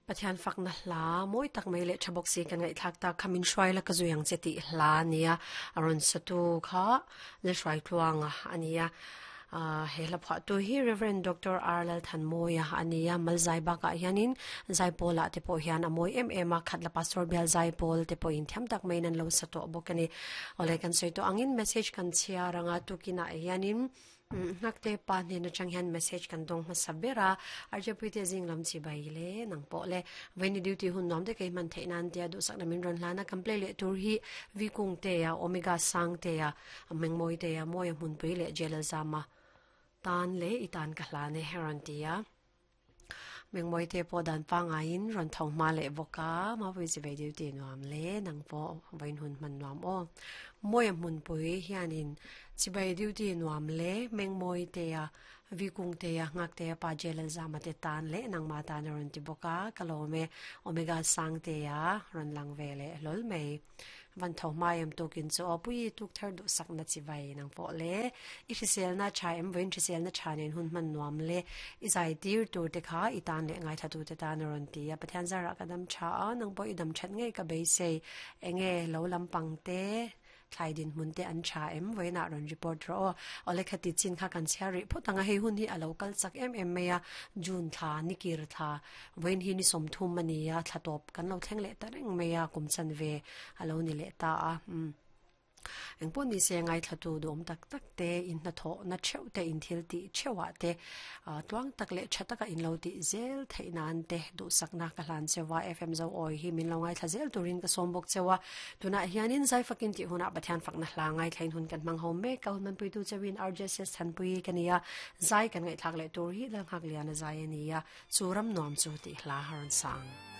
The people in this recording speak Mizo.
Pathian fakna hla mawi tak mai leh tha bawk si kan ngaihthlak tak kha min hruai la ka zui ang che tih hla a nia a rawn satu kha Lalhruai Tluanga a nia ah he hla phuahtu hi Reverend Doctor R Lalthanmawia a nia Malzai bakah hianin Zaipawl ah te pawh hian a mawi em em a Khatla Pastor Bial Zaipawl te pawhin thiam tak maiin an lo sa tawh bawk a ni. Awle kan sawi tawh angin message kan chhiar anga tukinah hianin Nghakte pa hnen atang hian message kan dawng hmasa ber a, Arjapui te zing lam chi bai le nang pawh le Vaini duty hun nuam te kei hman theih nan tia duhsakna min rawn hlan a, kan play leh tur hi Vikung te a, Omega Sang te a, Mengmawi te a, Mawia Hmunpui leh Jelalzama tan leh i tan ka hlan e rawn ti a. Mengmawi te pawh dan pangaiin rawn tho hma leh bawk a, Mapui chi ve duty nuam le nang pawh vawiin hun hman nuam aw. Mawia hmunpui hianin chibai duty nuam le Mengmawi te a, Vikung te a, Nghak te a, Pa Jelalzama te tan leh nangmah tan a rawn ti bawk a, ka lawm e, Omega Sang te a rawn lang ve leh hlawl mai. Van tho hma em tukin chu aw pui tuk thar duh sak na chi vai nang pawh le i hriselna tha em vawiin hriselna tha nen hun hman nuam le i zai tir tur te kha i tan leh ngaithla tu te tan a rawn ti a Pathian zarah ka dam tha a nang pawh i dam that ngei ka beisei enge lo lampang te thlai dinhmun te an tha em vawiinah rawn report rawh aw awle khati chin kha kan chhiar rih phawt ang a hei hun hi a lo kal chak em em mai a June thla nikir thla Vawiin hi ni 30 a ni a, thla tawp kan lo thleng leh ta reng mai a, kum chanve a lo ni leh ta a. Umm. Engpawh ni se ngaithlatu duhawm tak tak te, in hnathawhna theuh te, in thil tih theuhah te, tluang tak leh tha taka in lo tih zel theih nan te duhsakna ka hlan cheu a, FM Zo Awi hi min lo ngaithla zel turin ka sawm bawk cheu a. Tunah hianin zai fakin tih hunah Pathian fakna hla ngaithlain hun kan hmang ho mek a, hun hmanpuitu cheuhin RJSS Thanpui ka ni a, zai kan ngaihthlak leh tur hi Lalnghakliana zai a ni a. Chu ram nuam chu tih hla a rawn sang.